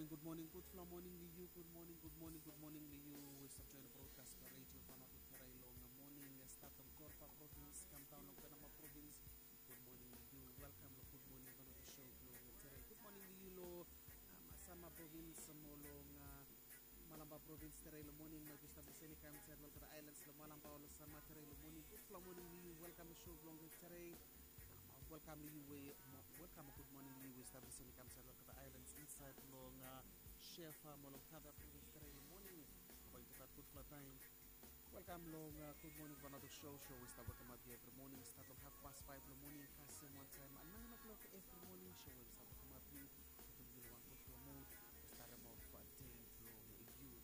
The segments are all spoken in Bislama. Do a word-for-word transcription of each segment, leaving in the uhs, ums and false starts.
Gud moning, gudfala moning long yu. Gud moning, gud moning, gud moning long yu we i stap join brodkas blong Redio Vanuatu Tere long moning. Stat long Corowa provins kam daon long Penama provins. Gud moning long yu. Welkam long Gud Moning Vanuatu show blong tere. Gud moning long yu long Sanma provins mo long Malampa provins tere long moning. Maet yu stap lisin i kam insaed long olgeta aelans long Malampa o long Sanma tere long moning. Gudfala moning long yu. Welkam long show blong tere. Welkam long yu we welkam mo gud moning long yu we i stap lisin i kam insaed long olgeta aelans insaed long Shefa mo long Kavea provins tere long moning. Bae yumi gat gudfala taem. Welkam long Gud Moning Vanuatu show, show we i stap wekemap yu evri moning stat long hafpas faef long moning kasem wantaem naen o'klok evri moning. Show we i stap wekemap yu, putum yu long wan gudfala mud, starem of dei blong yu.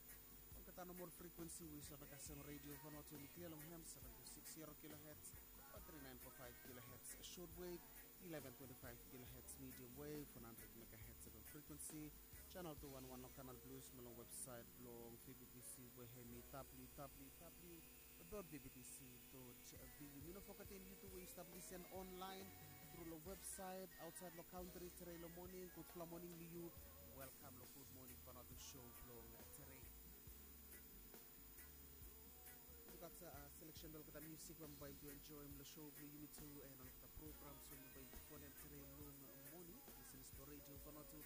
Olgeta nomol frikuensi we i save kasem Redio Vanuatu, hemi klia long hem, seven two six zero kilohertz, one three nine four five kilohertz shortwave, eleven twenty-five kilohertz medium wave, one hundred megahertz F M frequency, channel two one one long Canal Plus, mo long website blong V B T C we hemi W W W dot V B T C dot V U. Mi no fogetem yu tu we yu stap lisin online tru long website aotsaed long kantri tere long moning. Gudfala moning long yu. Welkam long Gud Moning Vanuatu show blong tere. Yu gat seleksen blong olgeta musik we bae yumi enjoem long show blong yumi tu, and olgeta programs we bae yumi folem tere long moning. Lisenas blong Redio Vanuatu,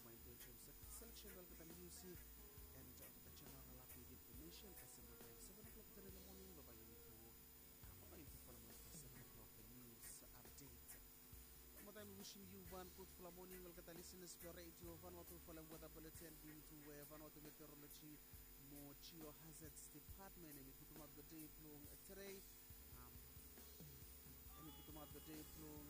bae yumi enjoem seleksen blong olgeta musik and olgeta jeneral update infomesen kasem wantaem seven o'clock tere long moning, bae yumi tu, bae yumi tu folem olgeta seven o'clock news update. Wan moa taem mi wisim yu wan gudfala moning, olgeta lisenas blong Redio Vanuatu. Folem weta buletin blong yumi tu we Vanuatu Meteorology mo Geohazards Department hemi putumaot long dei blong tere. Hemi putumaot long dei blong